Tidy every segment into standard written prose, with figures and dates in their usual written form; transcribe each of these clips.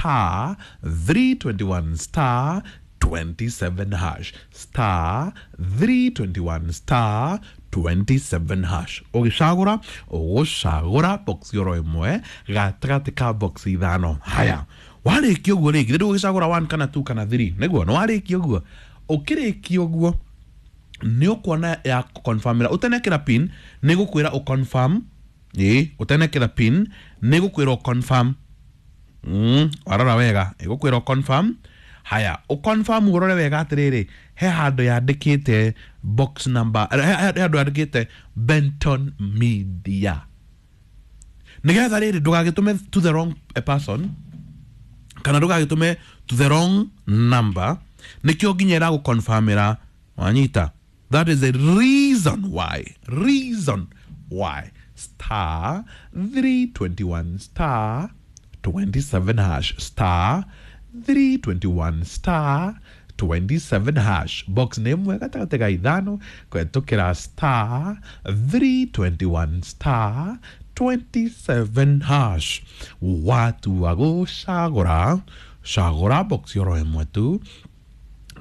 Star 321 star 27 hash, star 321 star 27 hash. Ũgĩcagũra ũgũcagũra box oro ĩmwe gatagatĩ ka box ithano. Haya, warĩkia ũguo rĩ, githĩ ndũgũgĩcagũra 1 kana 2 kana 3? Nĩguo nĩ warĩkia ũguo. Ũkĩrĩkia ũguo nĩ ũkuona ya confirmĩra ũtenekĩra pin, nĩ gũkwĩra ũconfirm. Ĩĩ, ũtenekĩra pin nĩ gũkwĩra ũconfirm. Warora wega ĩgũkwĩra ũconfirm. Haya, ũconfirm ũrore wega atĩrĩrĩ, he handũ yandĩkĩte box number, he handũ yandĩkĩte Benton Media, nĩgetha rĩrĩ ndũgagĩtũme to the wrong person kana ndũgagĩtũme to the wrong number. Nĩkĩo nginya ĩragũconfirmĩra. Wanyita? That is the reason why, reason why star 321 star 27 hash, star 321 star 27 hash. Box nĩ ĩmwe gatagatĩ ga ithano kũhetũkĩra star 321 star 27 hash. Watua gũcagũra, cagũra box oro ĩmwe tu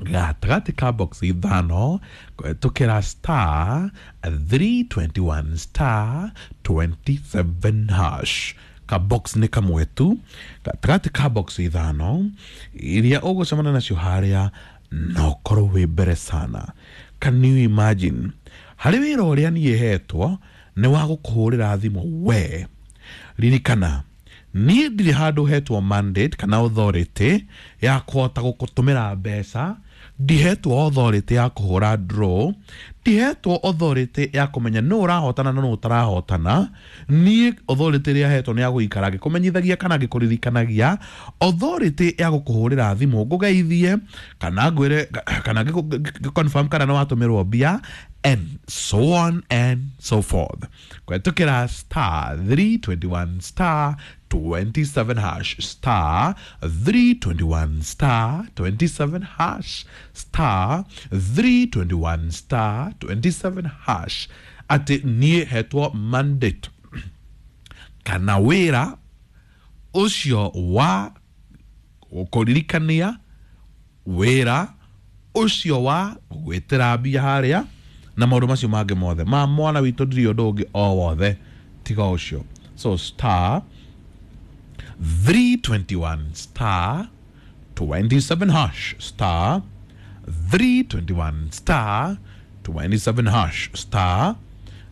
gatagatĩ ka box ithano kũhetũkĩra star 321 star 27 hash. Ka box nĩ kamwe tu gatagatĩ ka box ithano iria ũgũcemania nacio harĩa, na ũkorwo wĩ mbere sana. Can you imagine? Harĩ wĩra ũrĩa niĩ hetwo nĩ wa gũkũhũrĩra thimũ we. Ririkana, niĩ ndirĩ handũ hetwo mandate kana authority ya kũhota gũkũtũmĩra mbeca, ndihetwo authority ya kũhũra draw, ndihetwo authority ya kũmenya nũ ũrahotana na nũ ũtarahotana. Niĩ authority ĩrĩa hetwo nĩ ya gũikara ngĩkũmenyithagia kana ngĩkũririkanagia, authority ya gũkũhũrĩra thimũ ngũgeithie kana ngwĩre kana ngĩ confirm kana nĩ watũmĩrwo mbia and so on and so forth. Kũhetũkĩra star 321 star 27 hash, star 321 star 27 hash, star 321 star 27 hash. Atĩ niĩ hetwo mandate kana wĩra ũcio wa kũririkania, wĩra ũcio wa gwĩtĩra mbia harĩa na maũndũ macio mangĩ mothe ma mwana witũ. Ndirĩ ũndũ ũngĩ o wothe tiga ũcio. So star 321 star 27 hash, star 321 star 27 hash, star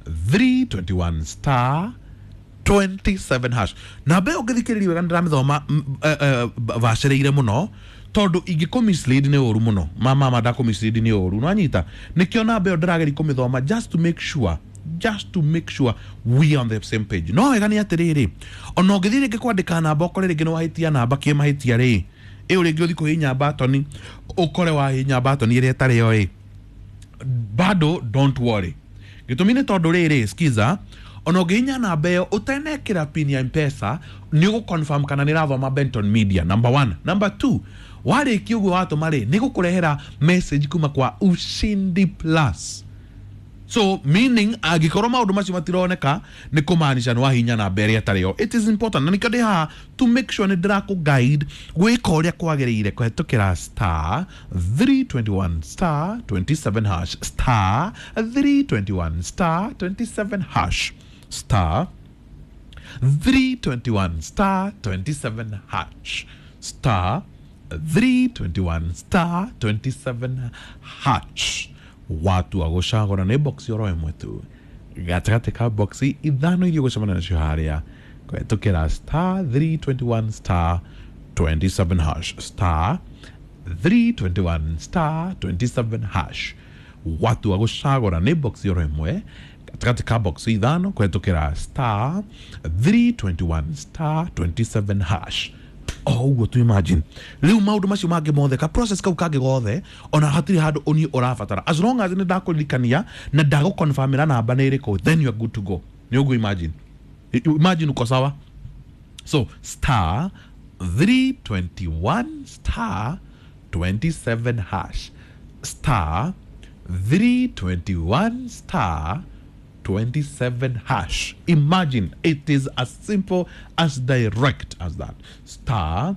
321 star 27 hash. Namba ĩyo ũngĩthikĩrĩria wega nĩndĩramĩthoma bacĩrĩire mũno, tondũ ingĩkũ mislead nĩ ũru mũno. Mama ndakũ mislead nĩ ũru, nwanyita? Nĩkĩo namba ĩyo ndĩrageria kũmĩthoma just to make sure, just to make sure we are on the same page. No wega nĩ atĩrĩrĩ, ona ũngĩthiĩ rĩngĩ kwandĩka namba ũkore rĩngĩ nĩ wahĩtia namba kĩmahĩtia rĩ, ĩyo rĩngĩ ũthiĩ kũhihinya batoni ũkore wahihinya batoni ĩrĩa ĩtarĩ yo ĩ, bado don't worry. Gĩtũmi nĩ tondũ rĩrĩ, skiza, ona ũngĩhihinya namba ĩyo ũtenekĩra pin ya Mpesa, nĩ ũgũ confirm kana nĩ ĩrathoma Benton Media, number one. Number two, warĩkia ũguo watũma rĩ, nĩ gũkũrehera message kuma kwa Ushindi Plus. So meaning angĩkorwo maũndũ macio matironeka, nĩ kũmaanisha nĩ wahihinya namba ĩrĩa ĩtarĩ yo. It is important na nĩkĩo ndĩ haha to make sure nĩ ndĩrakũ guide gwĩka ũrĩa kwagĩrĩire kũhetũkĩra star 321 star 27 hash, star 321 star 27 hash, star 321 star 27 hash, star 321 star 27 hash. Watu agũcagũra nĩ box oro ĩmwe tu gatagatĩ ka box ithano iria ũgũcemania nacio harĩa kũhetũkĩra star 321 star 27 hash, star 321 star 27 hash. Watu agũcagũra nĩ box oro ĩmwe gatagatĩ ka box ithano kũhetũkĩra star 321 star 27 hash. O ũguo tu, imagine rĩu maũndũ macio mangĩ mothe, ka process kau kangĩ gothe, ona hatirĩ handũ ũniĩ ũrabatara. As long as nĩ ndakũririkania na ndagũconfirmĩra namba nĩ ĩrĩkũ, then you are good to go. Nĩ ũguo, imagine, imagine uko sawa. So star 321 star 27 hash, star 321 star 27 hash. Imagine, it is as simple as direct as that. Star